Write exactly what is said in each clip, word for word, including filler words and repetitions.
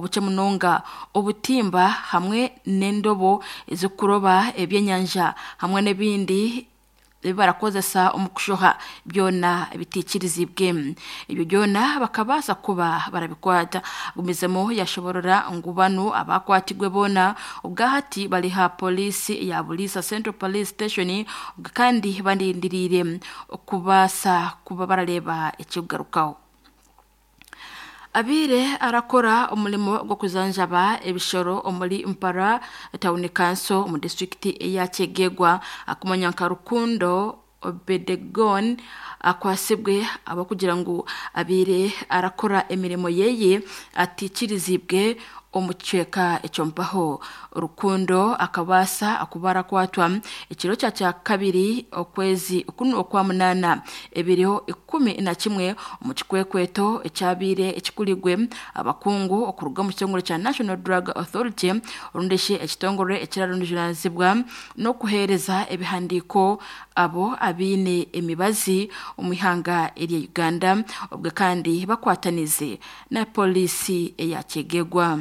obukye munonga obutimba hamwe n'endobo ezikuroba ebyenyanja hamwe n'ebindi ebi barakozesa omu kushoha byona bitikirizibwe. Ebyo byona bakabaasa kuba barabikwata. Gumizemo yashoborora ngu banu abakwatigwe boona ubwahati bali ha polisi ya Bulisa Central Police Station, kandi bandindiriire okubaasa kuba barareba ekikugarukaho. Abire arakora omulimo gw'okuzanjaba ebishoro omuri Mpara Town Council mu district ya Kyegegwa akumanya nka Rukundo Obedegon akwasibwe abakugira ngu abire arakora emirimo yeye atikirizibwe omu kicweka ekyompaho. Rukundo akabaasa akuba arakwatwa ekiro kya kya kabiri okwezi kunu okwa munana ebiriho ikumi na kimwe omu kikwekweto ekyabiire ekikurigwe abakungu okuruga omu kitongore kya National Drug Authority orundeshe ekitongore ekirarundijuranizibwa n'okuheereza ebihandiiko abo abiine emibazi omu ihanga erya Uganda, obwe kandi bakwatanize na polisi eya Kyegegwa.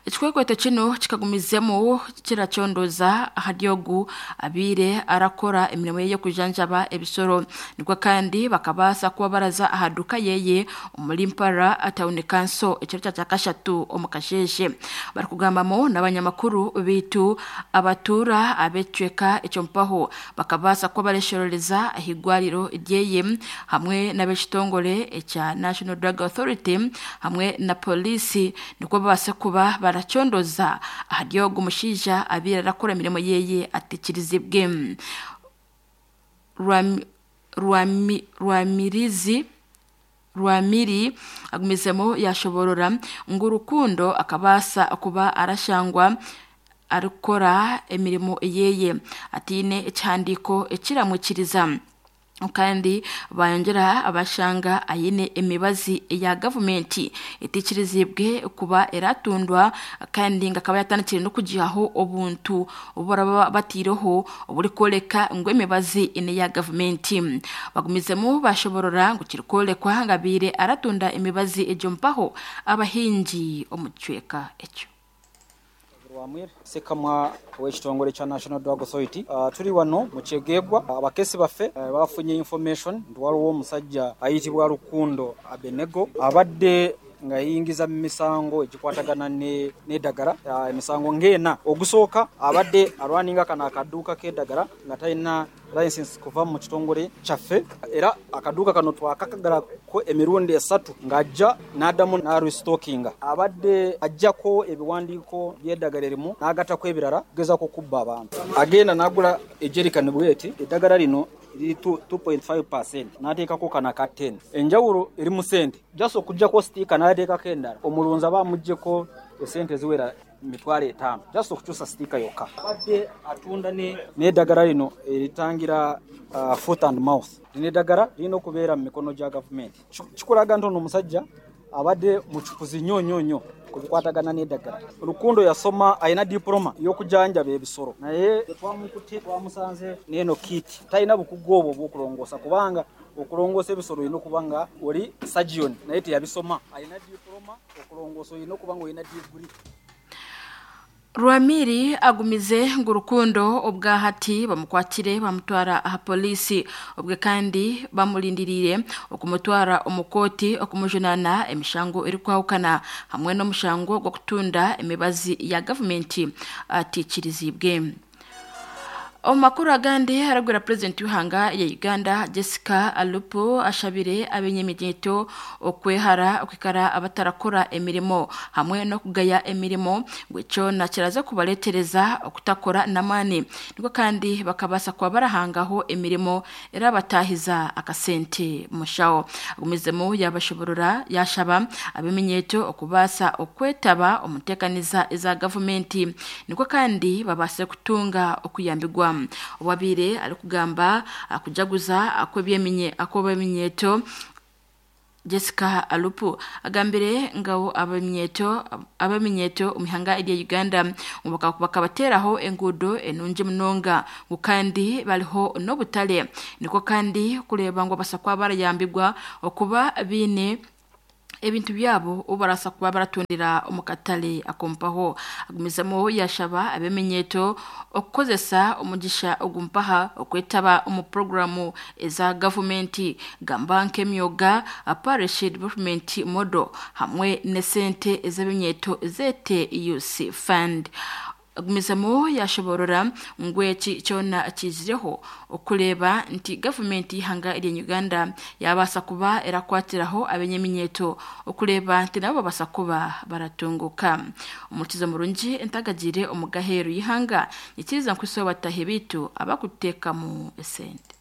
Ekikwekweto kino kikagumizemu kirakyondoza ahari ogu abiire arakora emirimo ye y'okujanjaba ebisoro, nikwo kandi bakabaasa kuba baraza aha duka yeye omuri Mpara Town Council ekiro kya kyakashatu omu kasheeshe. Barikugambamu n'abanyamakuru biitu abatuura ab'ekicweka ekyompaho bakabaasa kuba bareshorereza ah'igwariro ryeye hamwe n'ab'ekitongore ekya National Drug Authority hamwe na polisi, nikwo babaase kuba barakyondoza ahari ogu mushaija abiire arakora emirimo yeye atikirizibwe. Rwami- Rwami- Rwamirizi Rwamiri agumizemu yashoborora ngu Rukundo akabaasa kuba arashangwa arikukora emirimo yeye atiine ekihandiiko ekiramwikiriza, kandi bayongera abashanga ayine emibazi ya gavumenti etikirizibwe kuba eratundwa, kandi nga akaba yatandikire n'okugihaho obuntu obu baraba batiireho oburikoreka ngu emibazi ene ya gavumenti. Bagumizemu bashoborora ngu kirikworekwa nga abiire aratunda emibazi egyo mpaho abahingi omu kicweka ekyo. Rwamwire sekamwa w'ekitongole kya National Drug Authority. uh, tuli wano mu Kyegegwa. Abakesi baffe uh, bafunye information nti waliwo omusajja ayitibwa Rukundo Abenego abadde nga yingiza mu misango egikwatagana n'eddagala, uh, emisango ng'ena. Ogusooka abadde alwaninga kano akaduuka k'eddagala nga talina license kuva mu kitongole kyaffe, era akaduuka kano twakakagalako emirundi esatu ng'ajja n'addamu n'arestockinga. Abadde ajjako ebiwandiiko by'eddagala erimu n'agattako ebirala kugezaako kubba abantu. Agenda n'agula ejerikani bweti, eddagala lino liri two point five percent, n'ateekako kano aka ten. Enjawulo eri mu ssente, just okuggyako sitiika n'ateekako endala, omulunzi aba amuggyeko esente ziwera mitwalo etaano just okukyusa sitiika yokka. Abadde atunda n'eddagala lino eritangira uh, foot and mouth. Lino eddagala lirina okubeera mu mikono gya gavumenti. Kikulaga nti ono omusajja abadde mucukuzi nnyo nnyo nnyo ku bikwatagana n'eddagala. Rukundo yasoma, alina diploma y'okujanjaba ebisolo, naye twamukutte twamusanze n'eno kit. Talina bukugu obwo obw'okulongoosa, kubanga okulongoosa ebisolo olina okuba nga oli surgeon, naye teyabisoma. Alina diploma, okulongoosa olina okuba nga olina degree. Rwamiri agumize ngu Rukundo obwahati bamukwatire bamutwara aha polisi, obwe kandi bamulindiriire okumutwara omu kooti okumujunana emishango erikwahukana hamwe n'omushango gw'okutunda emibazi ya gavumenti atikirizibwe. Omu makuru agandi, aragwera purezidenti w'ihanga ya Uganda Jessica Alupo ashabire abenyemigyeto okwehara okwikara abatarakora emirimo hamwe n'okugaya emirimo ngu ekyo kiraza kubaletereza okutakora n'amaani, niko kandi bakabaasa kuba barahangaho emirimo erabatahiza akasente mushaho. Agumizemu yabashoborora yashaba abeminyeto okubaasa okwetaba omu nteekaniza eza gavumenti, niko kandi babaase kutunga okuyambigwa. Owabiire arikugamba akujaguza akw'ebyeminye akw'eminyeto Jessica Alupo agambire ngabo abaminyeto abaminyeto omu ihanga erya Uganda bakabateraho enguudo enungi munonga ngu kandi bariho n'obutare, niko kandi kureeba ngu basa kuba barayambigwa okuba biine ebintu byabo obarasa kuba baratundira omukatale akompaho. Agumizamo yashaba abemenyeto okukozesa omugisha ogumpaha okwetaba omu programu eza gavumenti gamba nk'emyoga parish development model hamwe nesente ez'eminyeto zete U C fund. Agumizamo yashoborora ngu eki kyona kizireho okureba nti gavumenti y'ihanga erya Uganda yabasa kuba erakwatiraho abenyeminyeto okureba nti nabo babasa kuba baratunguka. Omukizo murungi entagagire omugaheru y'ihanga nikiriza nkuso batahe bitu abakuteekamu esente.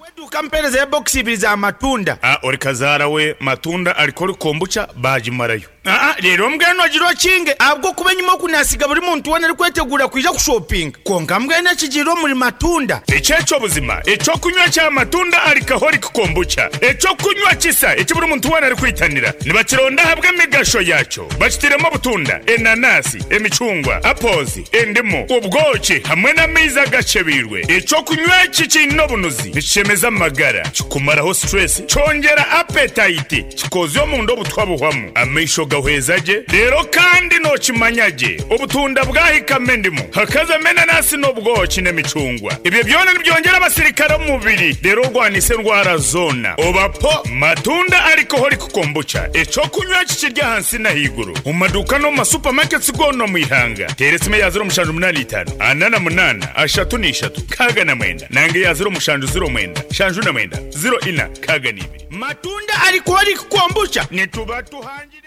Weduka mpereza ya box ibiri za matunda. Ah, ori kazaara we matunda alikori kombucha bagimarayo. Ah, rero mbwenu agira okinge abwo kuba enyuma okunasiga buri muntu wena ari kwetegura kwija kushopinga, konka mbwenu ekigirira omuri matunda. Ekyekyo buzima ekyokunywa kya matunda alikahori kombucha, ekyokunywa kisa eki buri muntu wena ari kwitanira nibakironda ahabwa emigasho yakyo. Bakitiremu obutunda, enanasi, emicungwa, apozi, endimu, ubwoki hamwe n'amaizi agacebirwe. Ekyokunywa eki kiine obunuzi, nikishemeza amagara, kikumaraho stress, kyongera appetite, kikozya omunda obutwa buhwamu, amaisho gahweza gye. Rero kandi nokimanya gye obutunda bwahikamo endimu, hakazamo enanasi n'obwoki n'emicungwa, ebyo byona nibyongera abasirikare omu mubiri, rero orwanisa endwara zona. Obapo matunda alcoholic kombucha, ekyokunywa kikirya ahansi n'ahaiguru mu maduuka no mu masupamaketi goona omu ihanga. Teera esimu ya ziro mushanju munaana itaano ana na munaana ashatu n'ishatu kaaga na mwenda, nange ya ziro mushanju ziro mwenda shanju na mwenda ziro ina kaaga n'ibiri. Matunda alcoholic kombucha, nituba tuhangire.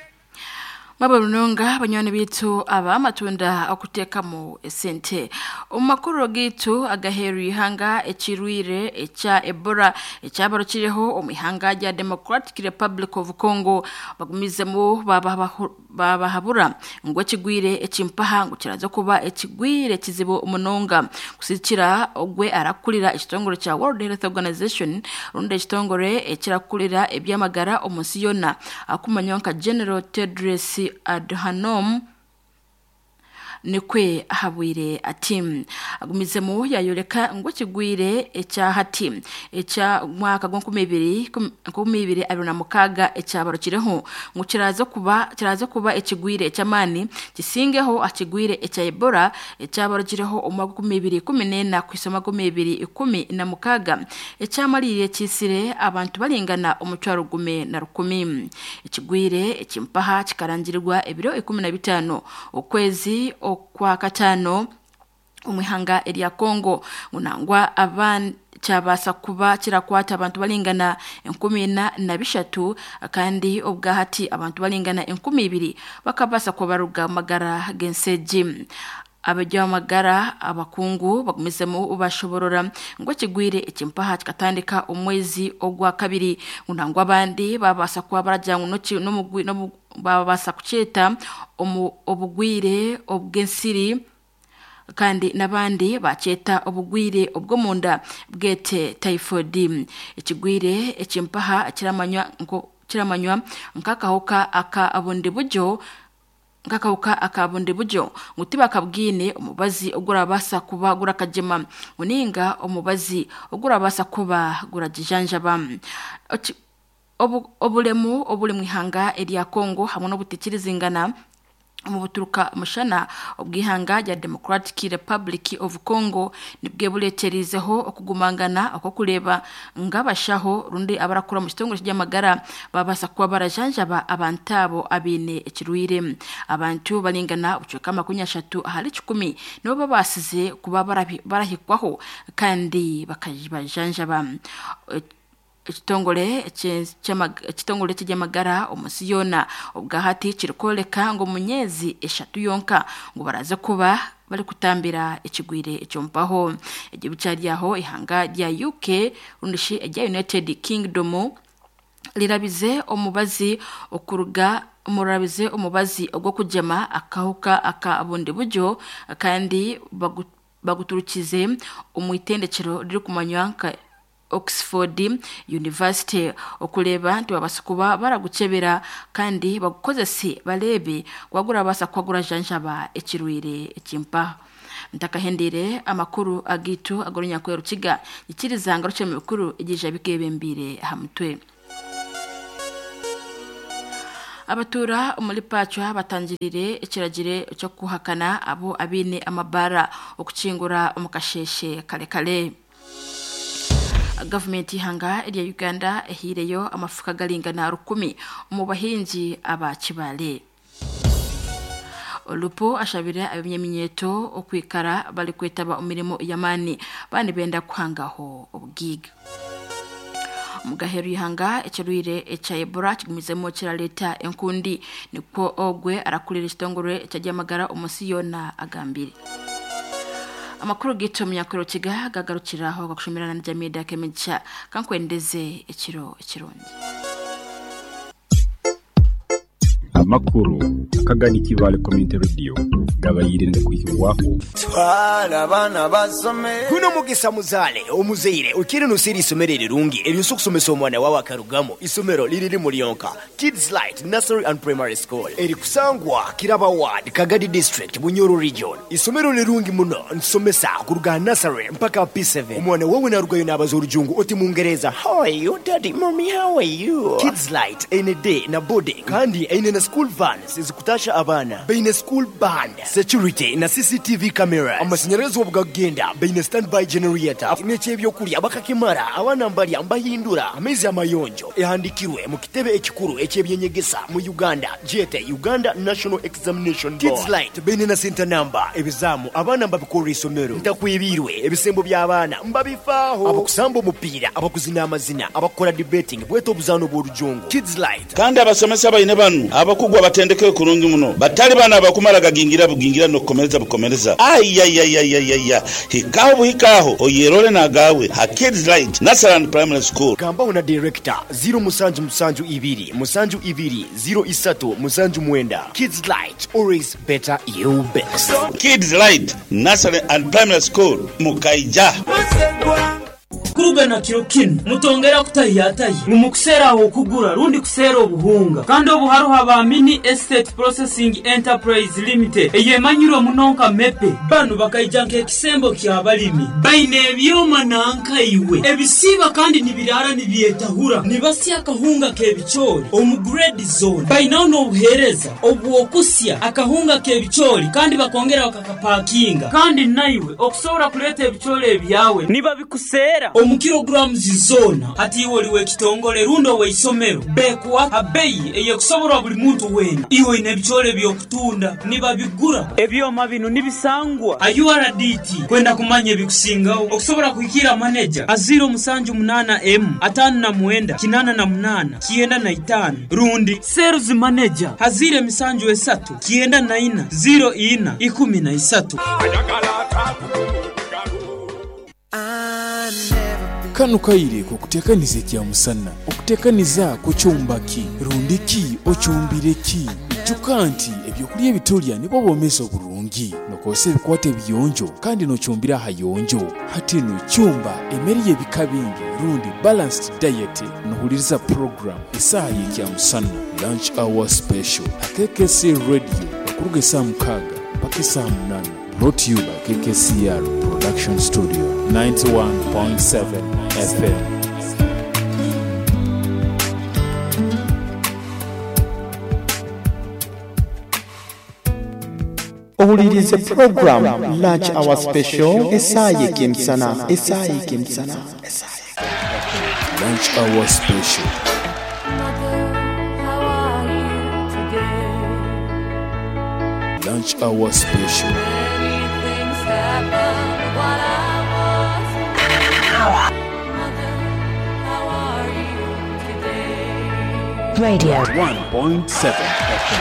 Mwaba runonga banywani bitu aba matunda okuteekamu esente. Omu makuru gitu agaheru ihanga, ekirwire ekya Ebola ekyabarukireho omu ihanga rya Democratic Republic of Congo bagumizemu babahabura ngu ekigwire ekimpaha ngu kiraza kuba ekigwire kizibu munonga. Kusikira ogwe arakurira ekitongore kya World Health Organization rundi ekitongore ekirakurira ebyamagara omu nsi yona akumanywa nka General Tedros Adhanom nikwe ahabwire ati agumizemu yayoleka ngo kigwire ekyahati ekya mwaka gwa nkumi ibiri nkumi ibiri abiri na mukaga ekyabarukireho ngo kiraza kuba kiraza kuba ekigwire ekyamani kisingeho akigwire ekya Ebola ekyabarukireho omwaka nkumi ibiri kumi n'ena kwisoma nkumi ibiri ikumi na mukaga ekyamalire kisire abantu balingana omutwaro gume na rukumi. Ekigwire ekimpaha kikarangirirwa ebiro ikumi na bitano okwezi okwa katano omwihanga erya Congo ngunangwa aban kyabasa kuba kirakwata abantu balingana enkumi ina na bishatu, kandi obwahati abantu balingana enkumi ibiri bakabasa kubaruga magara genseji. Abajya abakungu bagumizemu bashoborora ngo kigwire ekimpaha kikatandika omwezi ogwa kabiri, ngunangwa abandi babasa kuba barajya no babasa kukyeta obugwire obw'ensiri, kandi n'abandi bakyeta obugwire obw'omunda bwete typhoid. Ekigwire ekimpaha kiramanywa nko kiramanywa nk'akahuka aka abundi buryo nk'akahuka aka bundi buryo ngu tibakabwine omubazi ogurabasa kuba gurakagema uninga omubazi ogurabasa kuba guragijanjaba. Obulemu obuli mu ihanga erya Congo hamwe n'obutekirizingana mu buturuka mushana obwihanga rya Democratic Republic of Congo nibwe buleterizeho okugumangana okokuleba ngabashaho rundi abarakura mu kitongole cy'amagara babasa kuba barajanjaba abantu abo abine ekirwire. Abantu balingana ubucweka makumi ashatu ahari kikumi nibo babasize kuba barahikwaho kandi bakajibajanjaba. Ekitongole ekitongole ky'amagara omunsi yona obwahati kirikoleka ngo munyezi eshatu yonka ngo baraze kuba bari kutambira ekigwire ekyompaho. Egihugu kyaryaho ihanga rya U K rundishi erya United Kingdom lirabize omubazi okuruga murabize omubazi ogw'okugema akahuka aka bundi buryo, kandi baguturukize omu itendekero ririkumanywa nka Oxford University okuleba nti babasa kuba baragucebera kandi bagukozese barebe gwagura basa kwagura janjaba ekirwire ekimpa. Ntakahendire amakuru agitu agorunya kwerukiga ikirizanga ruce mu bikuru igije bikebembire hamutwe. Abatura omuri Pachwa batangirire ekiragire cyo kuhakana abo abine amabara okukingura omukasheshe kale kale. Gavumenti ihanga erya Uganda ehireyo amafuka galingana rukumi omu bahingi aba Kibale. Olupo ashabire ab'emyeminyeto okwikara bali kwetaba omirimo yamani bani benda kuhangaho obugiga. Mugaheru ihanga ekirwire ekya Ebola kigumizemo kiraleta enkundi nikwo ogwe arakulira ekitongore eky'amagara omusi yona agambire. Amakuru gito munyakuro kiga gagarukiraho gakushomerana na Jamida Kemicha kankwendeze ekiro ekirungi. Amakuru akagani Kibale Community Radio gabayirinde kuhirwaho twala abana basome kuno mugisa muzale omuzeire ukiri nusiri isomero rirungi eryo kusomesa omwana wawe akarugamo isomero liriri mulionka Kids Light Nursery and Primary School eri kusangwa Kiraba Ward Kagadi District Bunyoro Region. Isomero lirungi muno nsomesa kuruga nursery mpaka P seven. Omwana wawe narugayo nabaza orujungu oti mungereza how are you daddy mommy how are you. Kids Light ene day na boarding kandi ene na school vans zikutasha abana baine school band security na C C T V cameras amashanyarazi obugagenda baine standby generator n'ekyebyokulya bakakimara abana mbalya mbahindura amezi amayonjo ehandikirwe mu kitebe ekikuru ekyebyenyegesa mu Uganda jete Uganda National Examination Board. Kids Light baine na center number ebizamu abana mbabikora isomero ntakwibirwe ebisembo by'abaana mbabifaaho abakusamba omupiira abakuzina amazina abakora debating bweto obuzano bw'orujungu Kids Light. Kandi abasomesa baine banu abakugwa batendeke kurungi muno batali bana abakumara gagingira bugingira no kukomereza bukomereza ayayayayaya hikaho buhikaho oyerole nagawe ha Kids Light Nursery and Primary School. Gambaho na director zero musanju musanju ibiri musanju ibiri zero isatu musanju mwenda. Kids Light always better you best. Kids Light Nursery and Primary School mukaija kurugana kiro kino mutongera kutahiyatayi mumukusera aho kugura rundi kusera obuhunga kandi obuharuha ba Mini Estate Processing Enterprise Limited eyemanyirwe munonka mepe banu bakaija nk'ekisembo ky'abalimi baine ebyoma nankaiwe ebisiba kandi nibirara nibyetahura nibasya akahunga k'ebicoori omu grade zone bainaho n'obuheereza obwokusya akahunga k'ebicoori kandi bakongera bakakapakinga kandi naiwe okusobora kuleeta ebicoori ebyawe niba bikusera omu kilograms zona ati iwe oliwe ekitongole rundo weisomero bekuwa abeyi eyekusoborwa buli muntu wena iwe ine ebicoori byokutunda nibabigura ebyoma bino nibisangwa a U R D T kwenda kumanya ebikusingaho okusobora kuhikira manager aziro musanju munana m atano na mwenda kinana na munana kienda na itano rundi sales manager hazire misanju esatu kienda na ina zero ina ikumi na isatu. Kano kaire kukutekaniza kya musana okutekaniza kucyumbaki rundiki ocyumbireki ijuka nti ebyokulya ebitulya nibo bomeza oburungi nokose ebikwate ebiyonjo kandi nocyumbira ahayonjo hatino cyumba emeri y'ebika bingi rundi balanced diet nohuliriza program isaha y'ekya musana lunch hour special K K C Radio okuruga esaa mukaaga mpaka esaa munana. Brought to you by K K C R Production Studio ninety-one point seven F M. Owulirize program Lunch Hour Special esaye kimsana esaye kimsana esaye Lunch Hour Special. Lunch Hour Special. Radio one point seven F M.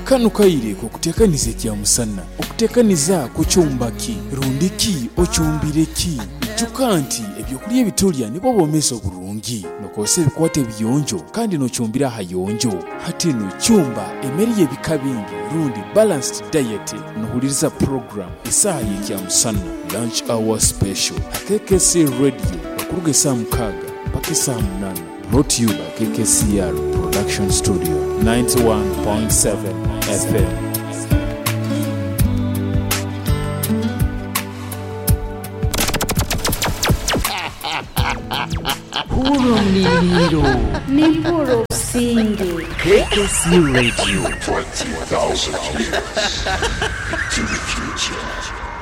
Kano kaire kukutekaniza kya musana okutekaniza kucyumbaki rundiki ocyumbireki ijuka nti ebyokulya ebitulya nibo bomeza oburungi nokose ebikwate ebiyonjo kandi nocyumbira ahayonjo hatino cyumba emeri y'ebika bingi rundi balanced diet nohuliriza program isaha y'ekya musana Lunch Hour Special K K C Radio okuruga esaa mukaaga mpaka esaa munana. Brought to you by K K C R Production Studio ninety-one point seven F M. Nimpura omuliriiro. Nimpura obusinge. K K C Radio. twenty thousand years into the future.